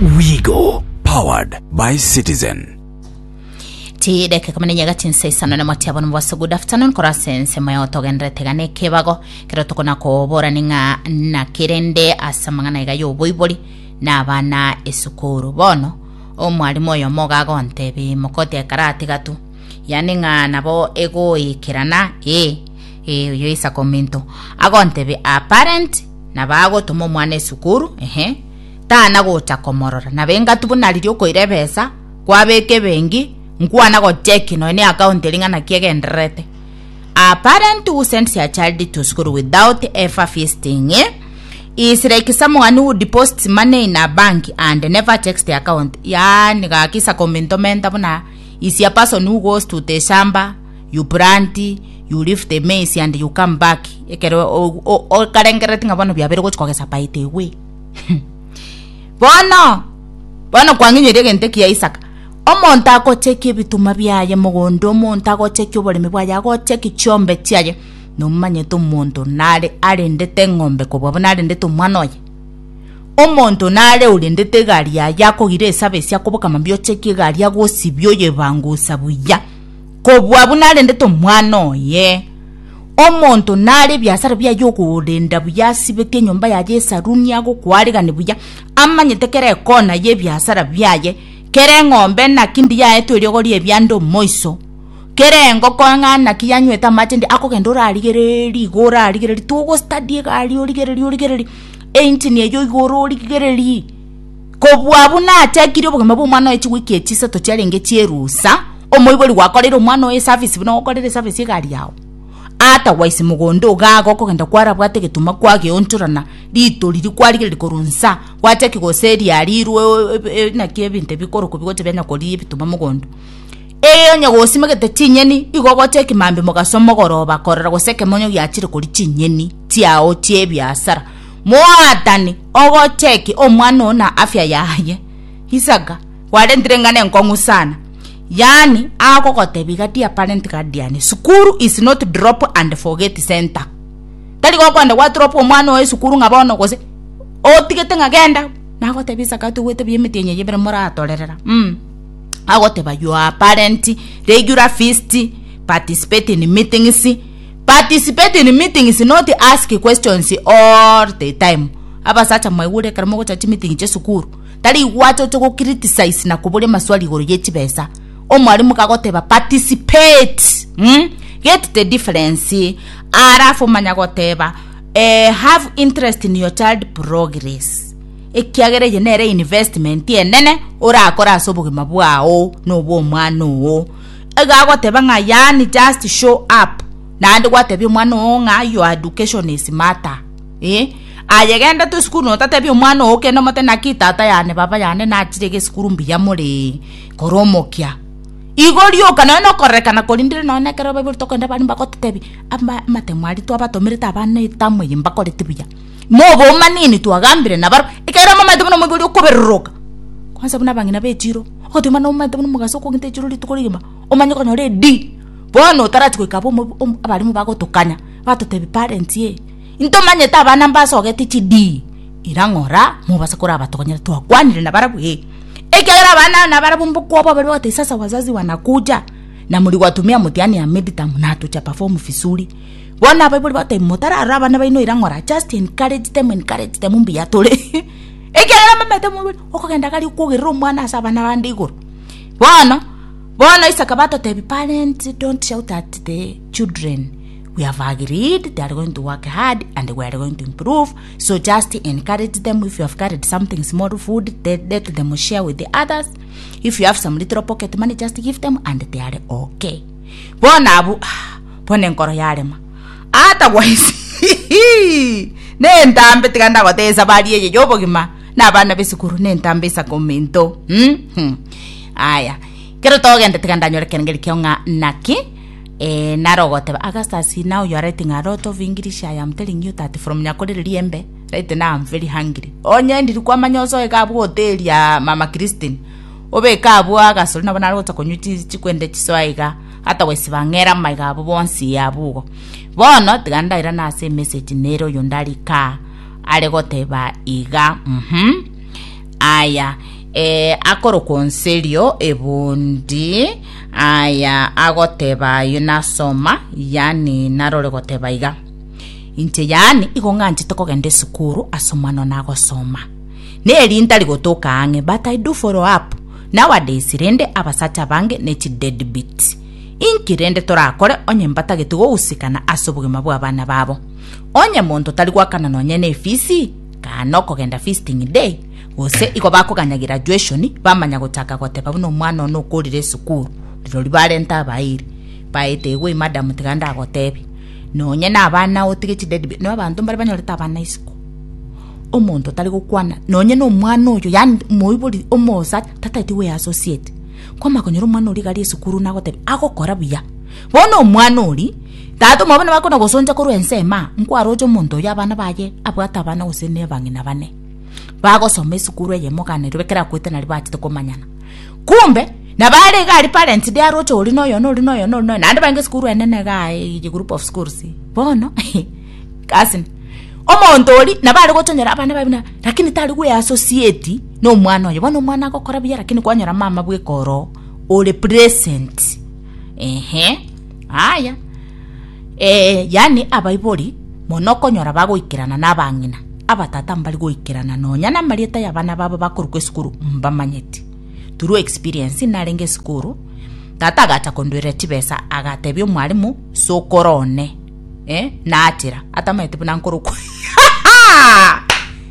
Wigo powered by Citizen. Chidakika ikomi na inyega chinsa isano nemo chiabo nomobaso good afternoon korwa ase ensemo yao togenderete iga nekebago kero tokona koborani ng'a naki rende ase amang'ana iga yoboibori na abana esukuru bono omwalimu oyomo iga agontebi mokoti ekero atiga tu yaani ng'a nabo egoikerana ee ee oyo Isaka ominto agontebi a parent nabo agotoma omwana esukuru ehe tana gocha komorora nabo engatu buna riria okoira ebesa Kwabeka ebenki, nkwana gocheki nonya ne account eria ng'a naki egendererete. A parent who sends a child to school without ever visiting is like someone who deposits money in a bank and never checks the account. Yaani gaki isaka ominto menta buna is a person who goes to the shamba, you plant, you leave the maize and you come back ekero okarengerereti ng'a bono biabeire gochi kogesa by the way. Bono Bono kwang'inyoria egento ekiya Isaka, omonto agochekia ebituma biaye mogondo, omonto agochekia oboremi bwaye, agochekia chiombe chiaye, nomanyete omonto nare arendete eng'ombe kobua buna arendete omwana oye? Omonto nare orendete egari yaye akogira esabesi akoboka mambia ochekie egari agosibia oyebangusa buya, kobua buna arendete omwana oye. Omonto nare ebiasara biaye okorenda buya asibeti enyomba yaye esaruni agokwarigani buya, amanyete kera ekona y'ebiasara biaye, kera eng'ombe naki ndiya yaetwe eriogo ri'ebianda omoiso, kera engoko ng'a naki yanywete amache ndi akogenda orarigereria igo orarigereria togostudy egari origereria origereria engine eywo igoro origereria. Kobua buna achekirie obogima bw'omwana oye chiwiki echi isato chiarenge chi'erusa, omoibori gwakoreire omwana oye eservice buna ogokorera eservice egari yao. Otherwise mogondo iga iga okogenda kwarabwate egetuma kwageonchorana rito riria kwarigereria korwa nsa, gwachaki gose riarirwe naki ebinto ebi bikorokwa bigocha bianya koria ebituma mogondo. Eye onye gosimegete chinyeni, igo ogocheki mambia mogaso mogoroba korora gose ekemonyo giachire koria chinyeni chiao chi'ebiasara. Moatani ogocheki omwana oo na afya yaye. Isaka, kwarentire eng'ana enkong'u sana. Yaani agogotebia iga dear parent guardian, sukuru is not drop and forget center. Tari gokoenda gwa drop omwana oo esukuru ng'a bono gose otigete ng'a genda, nagotebia Isaka toigwete buya emetienyi eye ebere moratorerera mh. Agoteba your parent regular visit, participate in meetings, Participate in meetings not ask questions all the time. Abasacha mwaigure ekero mogocha chimeeting chia esukuru, tari gwacha oche go criticize na koboria amaswali igoro ye chibesa. Omwalimu kagoteba participate mm? Get the difference alafu manya goteba eh, have interest in your child progress ekiagera eye nere investment enene orakore ase obogima bwao na obwa omwana oo. Iga agoteba ng'a yaani just show up naende gwatebia omwana oo ng'a your education is matter eh. Aye genda tu esukuru notatebia omwana oo kende omote naki tata yane baba yane nachire iga esukuru mbuya more kora omokia. Igo rioka nonya nokorerekana korindire nonya ekero abaibori tokogenda abande mbagototebia ama amatemo aria twabatomerete abana etamu eye mbakoreti buya. Mobomanini twagambire nabarabwo ekero momanyete buna omoibori okoberoroka kwanza buna abang'ina ba echiro. Ogoteema nomanyete buna omogaso okogenda echiro rituko rigima, omanye konyora edi. Bono otarachia goika abwo omo omo abalimu bagotokanya, batotebia parents eh, intomanyete abana mbasogete chidii, ira ng'ora mobasa korabatokonyera twakwanire nabarabwo eh. Ekiagera abana nabarabwo mbokwoboa baria bagotebia sasa wazazi wanakuja na mliwatumia mtihani ya midterm na hatuja perform vizuri. Bono abaibori bagotebia motararora abana baino ira ng'ora just encourage them encourage them mbuya tore. Ekiagera mbamanyete moibori okogenda gari okwogerera omwana ase abana bande igoro. Bono, bono Isaka batotebia parents don't shout at the children, we have agreed they are going to work hard and we are going to improve, so just encourage them if you have carried something small food let, let them share with the others, if you have some little pocket money just give them and they are okay. Bono abwo ah, bono enkoro yarema. Otherwise nentambe tiga ndagotebia esabari eye y'obogima na abana b'esukuru nentambe isaka ominto mm aya kero togende tiga ndanyore ekerengeri kiao ng'a naki eh, naro ogoteba Augustus now you are writing a lot of English I am telling you that from Nyakorere Riembe right now I'm very hungry onye ndiri kwamanya osoe iga abwo hoteli ya mama Christine obeke abwo agasori nabo nare gocha konywa chi chikwende chisoa iga Otherwise bang'ere amaiga abo bonsi abwo igo. Bono tiga ndairane ase emessage nere oyo ndarika are goteba iga uhum. Aya. Aya eh, akorokwa onserio ebundi aya agoteba ayio nasoma yani narore goteba iga inche yani igo ng'anchete kogenda esukuru ase omwana one agosoma neri ntari gotoka ang'e but I do follow up nowadays rende abasacha abange ne chi deadbeat inki rende torakore onye mbatageti gohusikana ase obogima bwa abana babo onye monto tari goakana nonye ne efisi Kaa nokogenda feasting day, gose igo bakoganya graduation bamanya gochaka goteba buna omwana one okorire esukuru, rirorio barenta abairi. Baete igwe madam tiga ndagotebi, nonye na abana otige chideadbeat, no abanto mbare banyorete abana isiko, omonto tari gokwana nonye na omwana oyo yaani moibori omosacha tatageti goe associate. Kwamanya konyora omwana oria iga aria esukuru nagotebia agokora buya. Bono omwana oria, tata omwabo nabo akona gosoncha korwa ensemo aa, nkwaroche omonto oyio abana baye abwate abana gose ne abang'ina bane, bagosoma esukuru eyemo iga Nairobi ekero akwete naria bachete komanyana. Kumbe, nabo are iga aria parents day aroche oria na oyo na oria na oyo na oria na oyo, naende barenge esukuru enene igaa eye group of schools. Bono, cousin, omonto oria nabo are gochonyora abana baye buna lakini tari goeassociate na omwana oye. Bono omwana agokora buya lakini kwanyora mama bweka oroo ore present. Ehe, aya. Eh, yaani abaibori mono okonyora bagoikerana na abang'ina, abatata mbari goikerana nonya na amarieta y'abana babo bakorokwa esukuru mbamanyeti. Through experience narenge esukuru, tata agacha kondwerera chibesa agatebia omwalimu sokoro one eh, nachera atamanyeti buna nkorokwa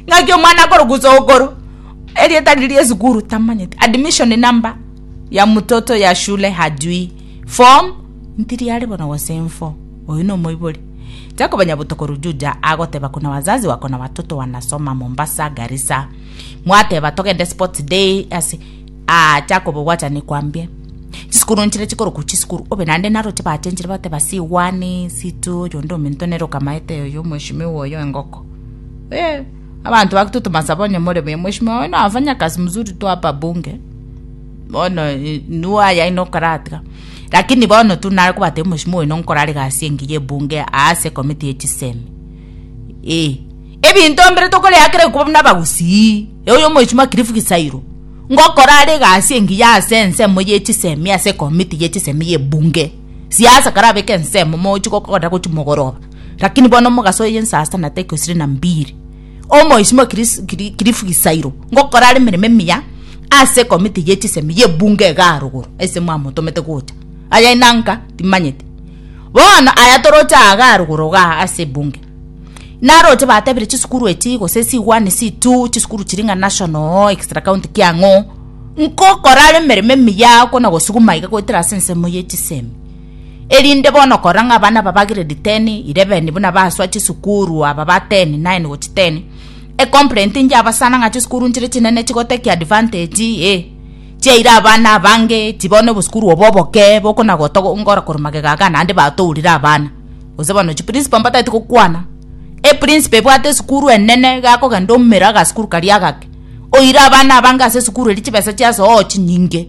ng'aki omwana akorokwa sokoro erieta riria esukuru tamanyeti admission number ya mtoto ya shule hajui form ntiri are bono gose mfo oyo nomoibori Jacob Nyabuto Rujuja agoteba kuna wazazi wako na watoto wanasoma Mombasa Garissa mwateba togende sports day ase ah Jacob wacha nikwambie chisukuru nchire chikorokwa chisukuru obe naende naroche bachenchire bateba C1 C2 oyonde ominto nere okamaete oyo mheshimiwa oyo engoko eh abanto bagototoma saba onye more buya mheshimiwa oyo nafanya kazi mzuri tu hapa bunge Bono inwe aya inwe okoratiga, lakini bono tu nare kobatebia omosimo oyo nonkore are egasi engiya ebunge ase ekomiti ye chisemi. Eh, ebinto mbire tokorea kera ekuba buna abagusii, oyo omosimo Cliff Gisairo, ngokora are egasi engiya ase ensemo ye chisemi ase ekomiti ye chisemi ye ebunge. Siasa karabeke ensemo mochi gokora gochia mogoroba, lakini bono omogaso oye saa sita na dakika ishirini na mbili, omoisimo Cliff Gisairo ngokora are emeremo emiya. Ase ekomiti ye chisemi y'ebunge iga arogoro ase mwamotomete gocha. Aya inanka timanyeti. Bono aya toroche aa iga arogoro igaa ase ebunge. Naroche batebire chisukuru echi gose C1, C2, chisukuru chiria ng'a national, extra county kiang'o, nkokora are emeremo emiya okona gosuguma iga goetera ase ensemo ye chisemi. Erinde bono korora ng'a abana aba ba grade ten, 11 buna basoa chisukuru aba ba ten, nine gochia ten, Ecomplaint inche abasana ng'a chisukuru nchire chinene chigoteki advantage eh, chiaire abana abange chibono obosukuru obo oboke bokona gotogo ngora korwa magega iga naende batourire abana. Gose bono chiprincipal mbatagete gokwana, eprincipal ebwate esukuru enene iga akogenda omera agasukuru karia agake, oire abana abange ase esukuru eria chibesa chiasoa oo chinyinge.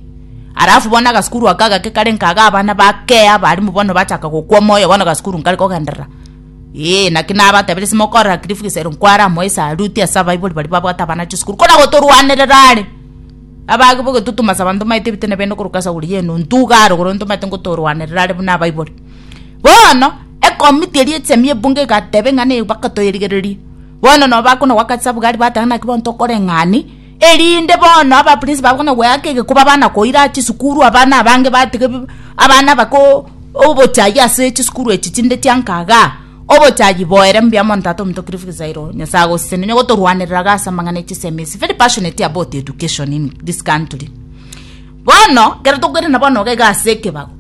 Alafu bono agasukuru aka agake kare nka iga abana bakea abalimu bono bachaka gokwa omoyo bono agasukuru nkare kogenderera. Ee, naki nabatebirie simokorera Cliff Gisero nkware amoe esaluti ase abaibori baria babwate abana chisukuru kona gotorwanerera are. Abage bogetutuma saba ntomaete ebitene bende korwa kasaguri yenu ntuga aro igoro ntomaete ngotorwanerera are buna abaibori. Bono, ekomiti eria echemi ebunge egateba eng'ana eye bakatoyerigereria. Bono nabo bakona goaka chisabugari bateba naki bono tokoreng'ani, erinde bono abaprinsipal bakona goeaka egekuba bana koira chisukuru abana abange batiga ebi abana bako obochai ase chisukuru echi chinde chia nka igaa, obochai boere mbuya mono tata ominto Cliff Gisairo, Nyasaye agosesenie onye gotorwanerera iga ase amang'ana e chisemi ase very passionate about education in this country. Bono, ekero tokoirana bono iga iga ase ekebago,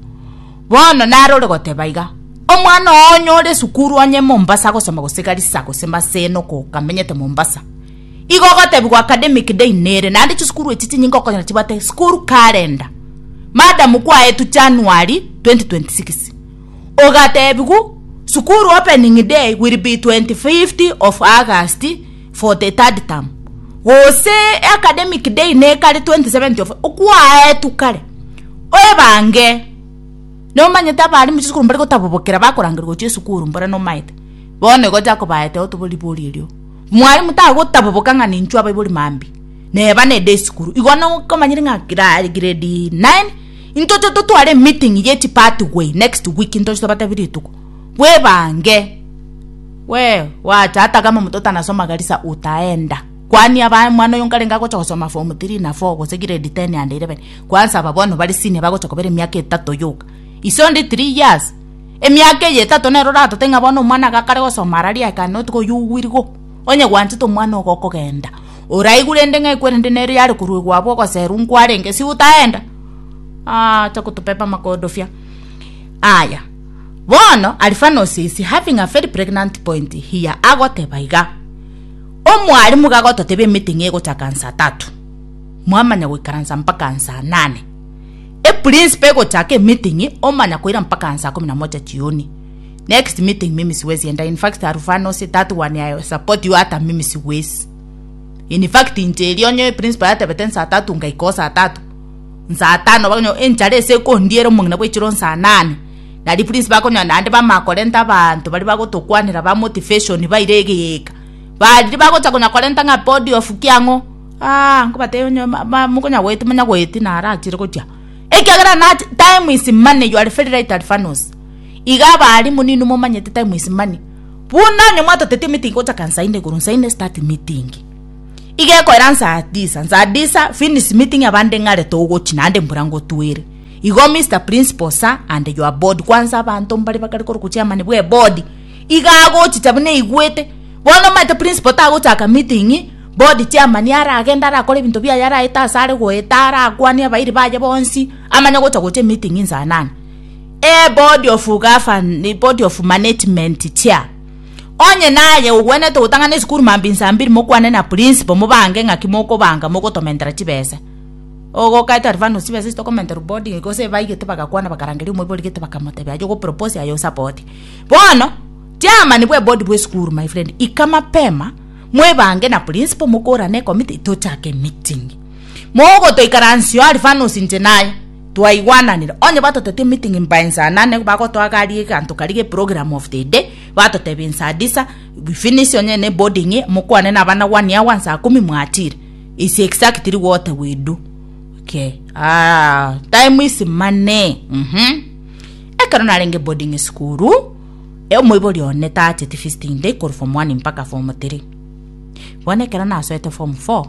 bono naro ore goteba iga, omwana oo onye ore esukuru onye Mombasa agosoma gose Garissa gose Maseno kokamenyete Mombasa, Igo ogotebigwa academic day nere naende chisukuru echi chinyinge okonyora chibwate school calendar. Madam kwaetwe January 2026 ogatebigwa sukuru opening day will be 25th of August for the third term gose academic day nekare 27th of okwaetwe kare oebange nomanyete abalimu chisukuru mbare gotabobokera bakorangerwa gochia esukuru mbora nomaete bono igo Jacob aete otobori ribori erio. Mwalimu tagotaboboka ng'a ninchwe abaibori mambia. Neba nede esukuru. Igo nokomanyire ng'a gra- grade 9 intoche totware emeeting ye chipathway next week ntoche tobatebi rituko. Bwebange. We wacha hata kama mtoto anasoma Garissa utaenda. Kwani aba omwana oyo nkarenge agocha gosoma form 3 na 4 gose grade 10 and 11. Kwanza aba bono bare senior bagocha kobera emiaka etato yoka. Is only 3 years. Emiaka eye etato nero oratote ng'a bono omwana iga akare gosoma araria I cannot go you will go. Onye gwanchete omwana ogo okogenda. Oraigwe rende ng'a ekwerende nere yare koruegwa abwo ogoserwa nkwarenge si utaenda? Aah acha kotopepa amakodofia. Aya, bono Alfanos is having a very pregnant point here agoteba iga, omwalimu iga agototebia emeeting egochaka nsa tatu, mwamanya goikaransa mpaka nsa nane. Eprinciple egochaka emeeting omanya koira mpaka nsa kumi na moja jioni. Next meeting mimi siwezi enda in fact Alfanos that one I support you hata mimi siwezi. In fact inche erio onye principal yatebete nsa tatu ngaika o saa tatu nsaa tano bakonyora enchara ase ekondiera omong'ina bwechire o nsaa nane nari principal akonyora naende bamanya korenta abanto baria bagotokwanera ba motivation baire egeeka bariri bagocha konya korenta ng'a body of kiang'o aah nkobatebia onye ma ma mokonya goeti monya goeti narachire gochia. Ekiagera nache time is money you are very right Alphanos. Iga abalimu ninwe momanyete time is money. Buna onye mwatotetie meeting gochaka nsaa ine igoro nsaa ine start meeting. Iga ekoera nsaa tisa, nsaa tisa finish meeting abande ng'are togochi naende mbura ngotwere. Igo Mister Principal sir and your board kwanza abanto mbare bakare korokwa chairman bwe eboard iga agochicha buna aigwete. Bono omanyete principal tagochaka meeting, board chairman aragende arakore ebinto biaye araete ase are goeta arakwanie abairi baye bonsi amanye gocha gocha emeeting nsaa nane. Eboard of govern board of management chair. Onye naye ogwenerete gotang'ana esukuru mambia insaa mbiri mokwane na principal mobange ng'aki mokobanga mogotomentera chibesa. Ogokaete Alvano chibesa echi tokomenterwa boarding gose baigete bagakwana bakarangeria omoibori gete bakamotebia aye ogopropose aye osapoti. Bono chairman bwe board bwe esukuru my friend ika mapema mwebange na principal mokorane ecommittee tochake emeeting. Mogotoikaransio Alvanos inche naye. Twaigwananire, onye batotetie meeting by nsaa nane bagotoa gari eganto karia ge program of the day, batotebia nsaa tisa we finish onye ne boarding mokwane na abana one hour nsaa kumi mwachire. Is exactly what we do. Okay. Ah, time is money. Mhm. Ekero narenge boarding school, eh, omoibori one tacheti visiting day korwa form 1 mpaka form 3. Bono ekero nasoete form 4,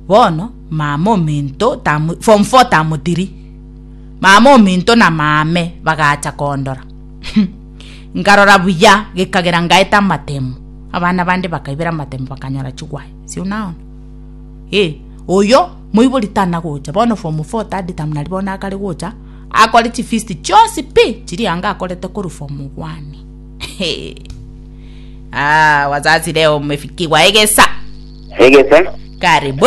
Bono mama ominto tamu, form 4 tamotiri. Mama ominto na mame bagacha kondora. Nkarora buya gekagera ngaeta amatemo. Abana bande bakaibera amatemo bakanyora chigwae. Si unaona? Eh, oyo moibori tana gocha. Bono form 4 third term nari bono akare gocha akore chifees chionsi pi chiria anga akorete korwa form 1. Ah, wazazi leo mmefikiwa egesa. Egesa, Karibu.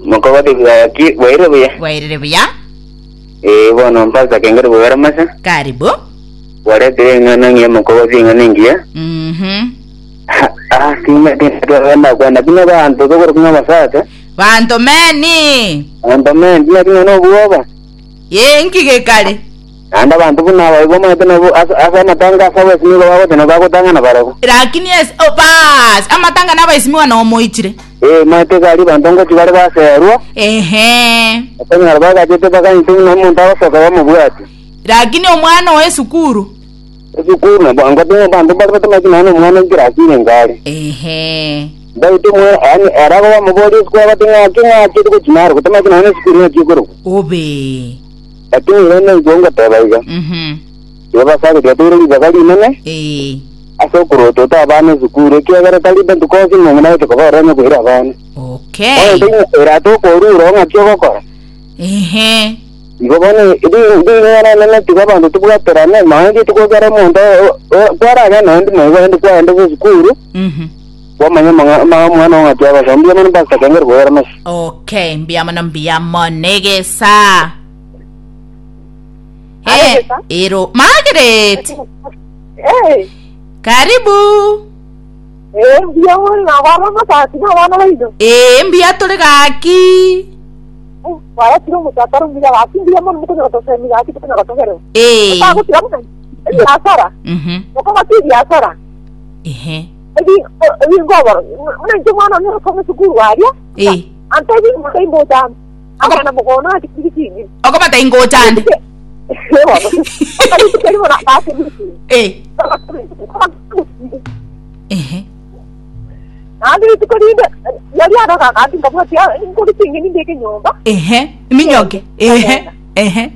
mokogoti bwaki bwaire buya. Bwairire buya. Eh, bono mpasa kengere bwera masa. Karibu. Waretire eng'ana ng'iya mokogoti eng'ana engiya. Ah, tinga tinga kwenda buna bantu tokoro kunga basacha. Banto meni. Bantu meni tinga tinga no bwoba. Ye nkige kare. Naende abanto buna aba igo omanyete nabo ase ase amatanga ase abaesimigwa bagotena bagotang'ana barabwo. Lakini ase oh, baas amatanga nabaesimigwa nomoichire. Ee, omanyete iga aria abanto ngochia bare baserwa, Ehe. okonyora bagachete bakanyete buna omonto agosoka bamobwate. Lakini omwana oe esukuru. Esukuru nabo ngote abanto mbare batamanyeti nonya na omwana ekirasi inga are. Ehe. Mbaete omwana yaani ere akobamoboria esukuru abate ng'aki ng'aki togochia naro gotamanyeti nonya na esukuru ng'aki ekorokwa. Obe. Lakini ere naigwe ngoteba iga, Igo basare tigatoire ribaga rinene ase okorotota abana esukuru, ekiagera tari botuko onsi ng'a ng'ina gocha koba ororo onye koira abana. Bono taiyo ere atokorure oo ng'aki ogokora. Igo bono ring'ana enene tiga abanto tobwaterane, nonya rituko ekero omonto kwaragenda naende moigo naende kwaenda ase esukuru, kwamanya amang'ana omwana oo ng'aki agosoma. Mbuya mono Pastor Kengere koyera mesa. Okay, mbuya mono mbuya mono egesa. Eh, Egesa? ero Margaret, Eh, karibu. eh, mbuya mono nabana amasasi na abana baino. Eh, mbuya tore gaki. Waretire omochakaro mbuya gaki mbuya mono mokonyora tosemi gaki tokonyora togerwa. Eh. Otagotira buna ebiasara. Mokogoti ebiasara. Ehe. Ebi ebingoboro. Buna inche omwana one osoma esukuru aria. Eh. Antebi ng'ocha imbocha ande. Akana mogono ati kiri kingi. Okomata ingocha ande. Eh. Ehe. Naende rituko rinde yari aroga agati nkabwati nkori ching'eni mbeke nyomba. Ehe. Minyoke. Ehe. Ehe.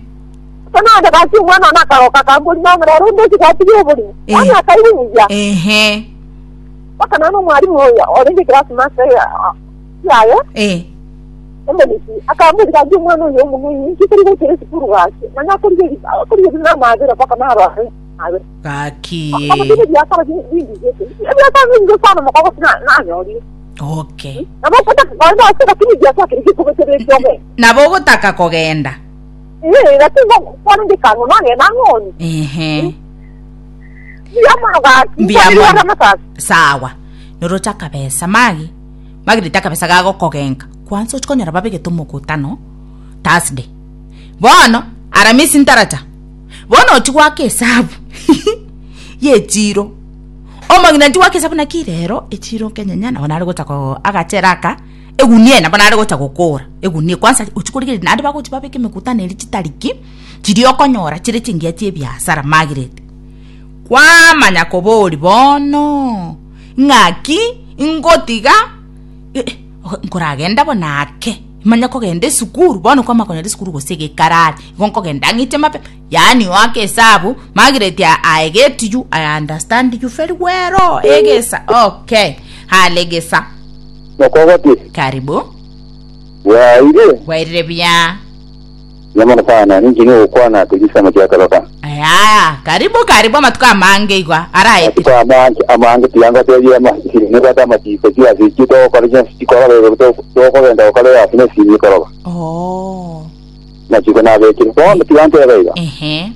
Naende gaki omwana one akaroka akambori mama rero ndochi gwatiga oborimo. Eh. Yaani akaibu buya. Ehe. Mpaka nane omwalimu oyo orenge class master yaye Eh. omonisi akambori gaki omwana oyo omong'aini inki tari gochera esukuru gaki manya akorigeria akorigeria namabera mpaka narware amabera. Gaki. Abatebe ebiasara bindizete ebiasara binge sana mokogo nanyorire. Okay. Nabo okotaka kogenda ase lakini ebiasara keri gekobetera ekioge. Nabo ogotaka kogenda. Eh, lakini kwarenge kang'o nagenda ng'oni. Ehe. Mbuya mono gaki. Mbuya Nkwanire mono. amasasi. Sawa. Noroche akabesa magi. Magirete akabesa gagokogenka. Kwanza ochi konyora babegete omokutano Thursday. Bono Aramisi ntaracha. Bono ochi goaka esabu y'echiro. Omong'ina nchi goaka esabu naki rero echiro nkenyenya nabo nare gocha ko agachere aka egunia eye nabo nare gocha gokora egunia kwanza ochi korigereria naende bagochi babeke emekutano eria chitariki chiria okonyora chire chingiya chia ebiasara Margaret. Kwamanya koboria bono ng'aki ngotiga nkoragenda bono ake manye kogenda esukuru bono kwamanya konyora esukuru gose egekarari igo nkogenda ng'iche mapema yaani oake esabu Margaret I get you I understand you very well egesa okay hale egesa Mokogoti, karibu bwaire bwairire buya Nyamana sana, ninki nogokwana togisama kia kabaka. Aya, karibu karibu amatuko amange igwa araetire. Amatuko amange amange tiyanga tebia amasiri nebwate amachiko chiasi chitogokora chionsi chikoroba igoro tokogenda gokora egasi na esimi ekoroba. Oh. Amachiko nabekire. Bono tiga ntebe iga. Ehe.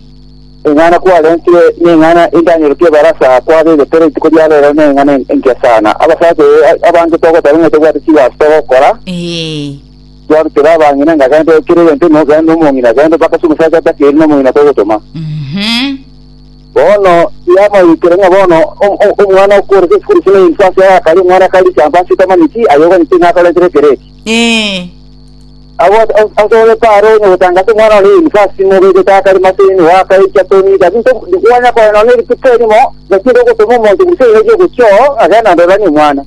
Eng'ana kwarentire neng'ana endanyerokia ebarasa kwabegete rituko ria rero neng'ana engiya sana. Abasacha abange togoteba ng'a tobwate chigasi togokora. Eh. Twarutera abang'ina ng'a genda okire egento ime ogende nomong'ina genda mpaka ase omosacha atakeire nomong'ina togotoma. Bono yamoikire ng'a bono omwana okorete esukuru chine university agakari omwana akari campus tamanyeti aye oganyete ng'a akorentere ekero eki. Asore paro onye gotangasa omwana one university mobegete akari maseni wakaicha toni lakini kwanya koe nonye rituko erimo lakini ogotoma omonto gose erio gochia oo agenda ndoranie omwana.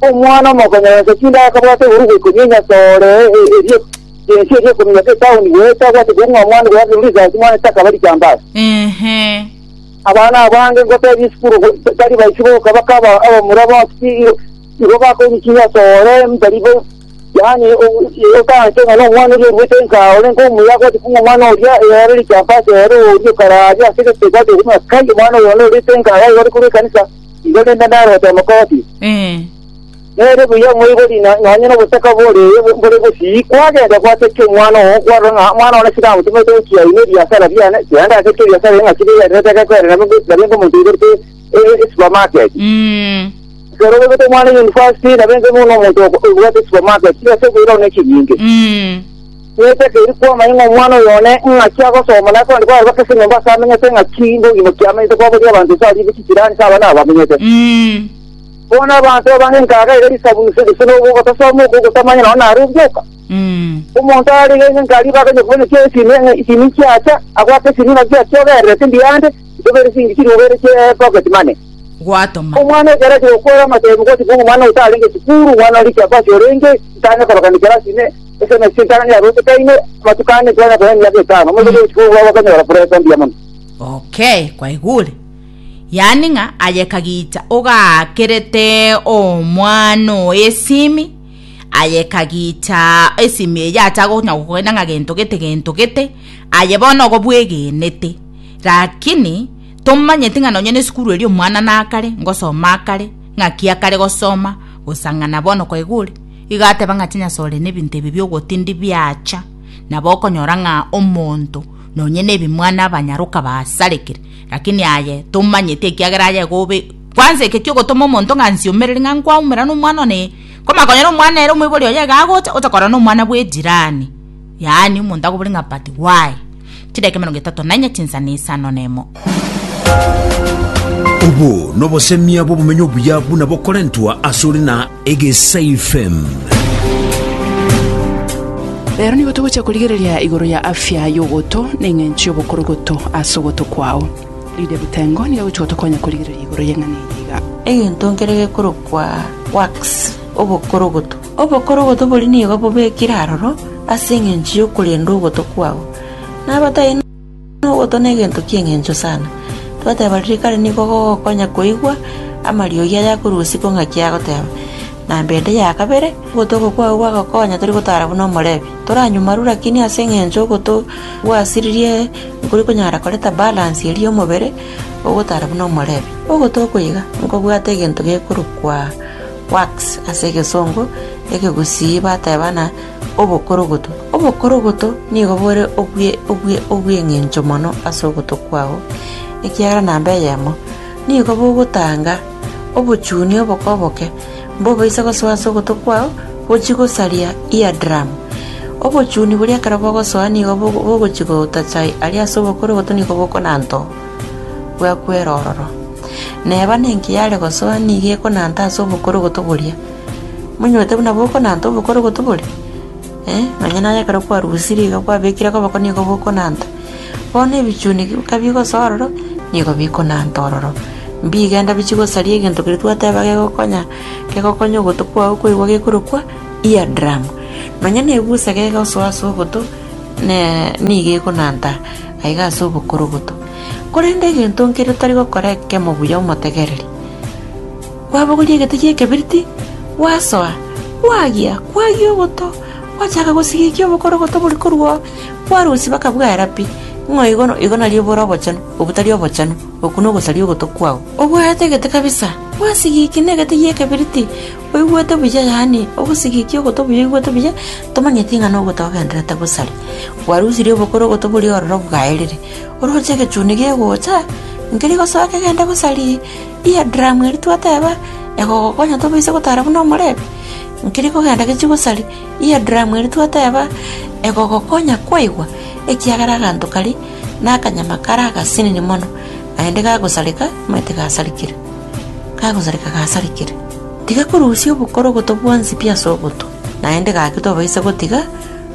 Omwana omokonyeresia chinde akabwata eburugo ikomi enyasore eria ense eria ekominyoka etaoni goeta abwate kong'ua omwana goaka risasi omwana takaba richambasi. Ehe. Abana abange ngotebia esukuru tari baisi boka bakaba abamura bonsi pi igo bakoinyia chinyasore ntari bo yaani otanche ng'a nomwana oria oruete nka ore nkomuya agwate kong'ua omwana oria ere richambasi ere oria okararia ase egete gwate ng'a kai omwana oyo one orete nka iga ore korwa ekanisa. Igo rende narote omokoti, nere buya omoibori nonya nobotaka bore bore bosii, kwagenda gwatekia omwana oo, kwarora ng'a omwana one sinamotomete gochia ime ebiasara biane, tiga ndatekie ebiasara ebi ng'a chibegererete gekoerera nabe nkomonto oigorete esupermarket. Ekero oigorete omwana university, nabe inche buna omonto obwate esupermarket, chibesa okoira one chinyinge. Netakeire kwamanya ng'a omwana oyo one ng'aki agosoma, na akonde kwarora ase enyomba ase amenyete ng'aki mbogima ki amenyete kwaboria abanto ase aria chichirani ase abana aba bamenyete. Bono abanto abange nkaga iga risabu gose gose nogotasoma oko ogotamanya nonya nare obioka. Omonto arenge nkaria bakanya komanya ki esimi ng'a esimi chiacha, agoaka esimi ng'aki achiogererete mbiyande, ntobere singi chirubere chie pocket money. Gwatoma. Omwana ekero achia gokora amatemu gochia kong'a omwana otarenge esukuru, omwana oria chiapasi orenge, ntanya korokana ekerasi ime, Ase entang'ani yarotekaine, amatuko ane twanya konya emiaka etano, omoiseke gochia kobua bakanyora presa mbuya mono. Okay, kwaigure. Yaani ng'a aye kagicha ogaakerete omwana oye esimi, aye kagicha esimi eye acha konya gokogenda ng'a gento gete gento gete, aye bono igo bwegenete. Lakini tomanyeti ng'a nonye na esukuru eria omwana nakare, ngosoma akare, ng'aki akare gosoma, gosang'ana bono kwaigure. Igo ateba ng'a chinyasore nebinto ebi bi'ogotindi biacha, nabo okonyora ng'a omonto nonye nebimwana abanyaroka basarekire, lakini aye tomanyeti ekiagera aye igo obe kwanza eke kiogotoma omonto ng'a nsiomereri ng'a nkwaumera nomwana one, komanya konyora omwana ere omoibori oye iga agocha, ocha korora nomwana bwa ejirani, yaani omonto akobori ng'a but why? Chidakika emerongo etato na inye chinsa na isano na emo. Obo nobosemia bw'obomenyo obuya buna bokorentwa asore na Egesair FM. Rero nigo togochia korigereria igoro ya afya y'ogoto na eng'encho y'obokorogoto ase ogoto kwao. Lydia Bitengo nigo agochia gotokonya korigereria igoro y'eng'ana eye iga. Egento nkere gekorokwa wax, obokorogoto. Obokorogoto boria nigo bobekire aroro ase engencho y'okorenda ogoto kwao. Nabataiyo nogoto negento ki'engencho sana. Twateba riria kare nigo gogokonya koigwa amariogi aya akorwa isiko ng'aki agoteba. Namba ende ya kabere, ogoto oko kwao gwagokonya tori gotara buna omorebi. Toranywa lakini ase engencho ogoto gwasiririe nkori konyara koreta balance eria y'omobere ogotara buna omorebi. Ogoto oko iga nkobwate egento gekorokwa wax ase egesongo, ekegusii bateba ng'a obokorogoto. Obokorogoto nigo bore obwe obwe obw'eng'encho mono ase ogoto kwao, ekiagera namba eyemo, nigo bogotanga obochuni oboke oboke mbobaisa gosoa ase ogoto kwao gochia gosaria eardrum. Obochuni boria ekero bogosoa nigo bogochia gotacha aria ase obokorogoto nigo bokonanta oo, bwakwera ororo. Neba nenki yare gosoa nigo ekonanta ase obokorogoto boria. Monywete buna bokonanta obokorogoto boria? Eh, nonya naye ekero kwarusirie iga kwabekire koboko nigo bokonanta. Bono ebichuni kabigosoa ororo, nigo bikonanta ororo. Mbigenda bichie gosaria egento keria twateba gegokonya, kegokonya ogoto kwao koigwa gekorokwa ear drum. Nonya na ebusa gegosoa ase ogoto, ne nigo ekonanta aiga ase obokorogoto. Korende egento nkere otari gokora ekemo buya omotegereri. Kwabogoria egete gi'ekebiriti, gwasoa, kwagia, kwagia ogoto, gwachaka gosigikia obokorogoto boria korwa oo, kwarusia baka bwaera pi, ng'a igo igo nario bore obochenu, obwo tari obochenu, okwo nogosaria ogoto kwao. Obwate egete kabisa, gwasigikia negete gi'ekebiriti, oigwete buya yaani ogosigikia ogoto buya oigwete buya, tomanyeti ng'a nogoto ogendererete gosaria. Kwarusirie obokorogoto boria ororo bwaerire, oroche egechuni gegocha, nkeri gosoa kegende gosaria. Eardrum eria twateba, egogokonya tobaise gotara buna omorebi, nkeri kogenda gechie gosaria. Eardrum eria twateba, egogokonya kwaigwa, ekiagera aganto karia na akanyama kare agasinini mono, naende gagosareka, omanyete gasarekire, kagosareka gasarekire. Tiga korusia obokorogoto bwonsi pi ase ogoto, naende gaki tobaisa gotiga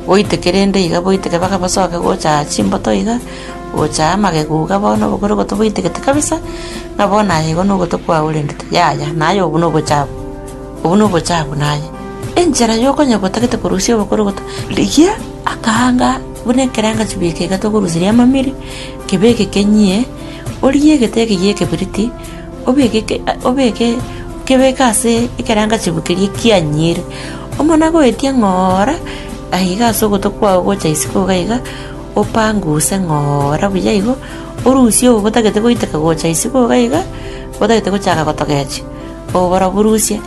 boiteke rende iga boiteke mpaka bosoke gocha aa chimboto iga. Gocha amagegu iga bono obokorogoto boitegete kabisa, ng'a bono aye igo nogoto kwaorendete. Yaya, naye obwo nobochafu, obwo nobochafu naye. Enchera yokonya gotagete korusia obokorogoto, rigia akaanga buna ekerenga chibeka iga tokoruseria amamiri, kebeke kenyie, origie egete eke gie ekebiriti, obeke ke obeke kebeke ase ekerenga chibu keria kianyire, omana goetia ng'oora aiga ase ogoto kwao gocha isiko iga iga. Opanguse ng'ora buya igo, orusie obo botagete goiteka gocha isiko iga iga, botagete gochaka gotogechia, obo barobwo rusia.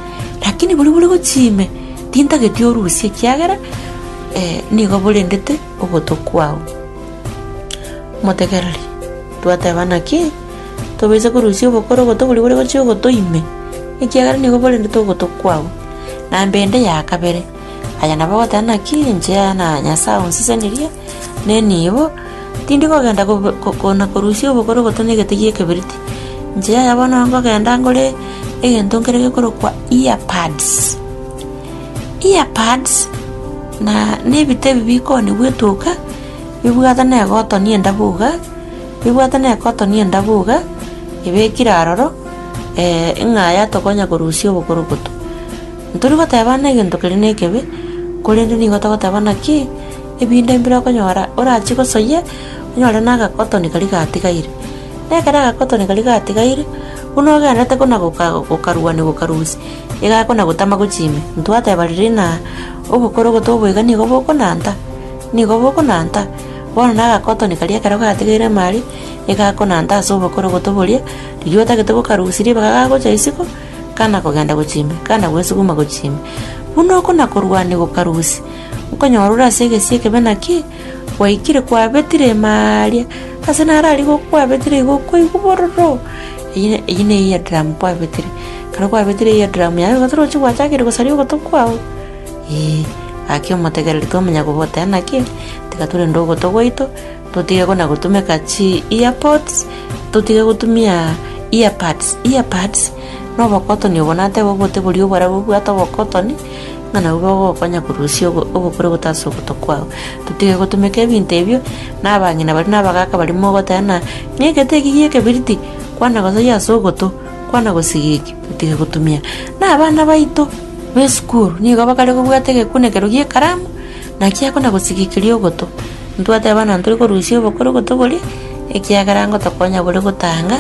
Lakini boria bore gochia ime, tintageti orusie ekiagera nigo borendete ogoto kwao. Motegereri, twateba naki, tobaisa korusia obokoro ogoto boria bore gochia ogoto ime, ekiagera nigo borendete ogoto kwao. Namba ende ya kabere. Aya nabo ogoteba naki inche na Nyasae onsesenirie nenibo, tindi kogenda kona korusia obokorogoto na egete gi'ekebiriti. Inche yaya bono nkogenda ngore egento nkere gekorokwa earpads. Earpads na na ebite ebi bikoonigwa etuka, bibwate na egotoni endabu iga, bibwate na egotoni endabu iga, ebekire aroro, ng'a yatokonya korusia obokorogoto. Ntori goteba ng'a egento keria nekebe, korende nigo togoteba naki ebinde mbire okonyora orachie gosoyia, onyore na agakotoni karia gatigaire. Na ekero agakotoni karia gatigaire, buna ogenderete kona goka gokaruania gokarusia, iga akona gotama gochia ime. Ntwateba riria ng'a obokorogoto obo iga nigo bokonanta, nigo bokonanta, bono na agakotoni karia ekero gatigaire ime aria, iga akonanta ase obokorogoto boria, riria otagete gokarusia ribaga gagocha isiko. Kana kogenda gochia ime, kana gwesuguma gochia ime. Buna okona-korwania gokarusia, nkonyora ore ase egesio ekebe naki, gwaikire kwabetire ime aaria, ase naro aria gokwabetire igo okoigwa bororo, eyio eyio ne eardrum kwabetire. Ekero kwabetire eardrum yaye igo torochi gwachakire gosaria ogoto kwao, eh, gaki omotegereri twamanya koboteba naki, tiga torende ogoto gwaito, totige kona gotumeka chi earpods, totige gotumia. Earpads, Earpads nobokotoni obo natebe obote boria oborabu bobwate obokotoni, ng'a nabwo bogokonya korusia obo obokorogoto ase ogoto kwao. Totige gotumeka ebinto ebio, na abang'ina baria na abagaka baria mogoteba ng'a ng'a egete eke gia ekebiriti, kwana gosoyia ase ogoto, kwana gosiga eke, totige gotumia. Na abana baito ba esukuru nigo bakare kobwata egekunekero gia ekaramu, naki akona gosigekeria ogoto. Ntwateba ng'a ntori korusia obokorogoto boria, ekiagera ngotokonya bore gotanga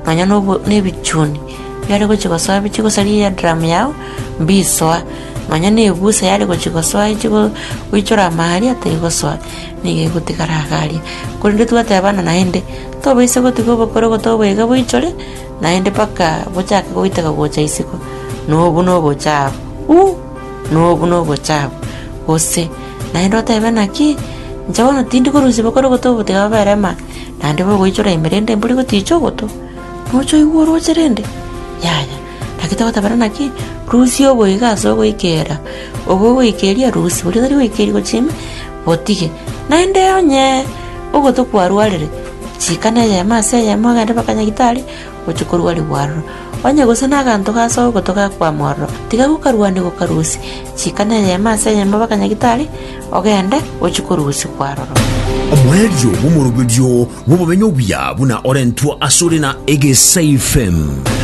nonya na obo na ebichuni biare gochia gosoa bichie gosaria eardrum yao, mbisoa, nonya na ebusa yare gochia gosoa echi go goichora ama aria terigosoa, nigo egotigara iga aria. Korende twateba ng'a naende, tobaisa gotiga obokorogoto obo iga boichore, naende mpaka bochake goiteka gocha isiko, na obwo na obochafu, uh! Na obwo na obochafu, gose naende otebe naki, inche bono tindi korusia bokorogoto obo tiga bobere ama, naende bogoichora ime rende mbori goticha ogoto, noche oigwe oroche rende? Yaya, naki togotabera naki, rusia oboigo ase ogoikera, obo ogoikeria rusia, boria otari goikeria gochia ime, botige. Naende onye ogoto kwarwarire, chika na eyemo ase eyemo ogende mpaka nyagitari, gochia korwarigwa aroro. Onye gose naganto gase ogoto gakwama ororo, tiga gokarwania gokarusia, chika neyemo ase eyemo mpaka nyagitari, ogende ochie korusigwa aroro. Omoerio bw'omoroberio bw'obomenyo obuya buna orentwe asore na Egesaifm.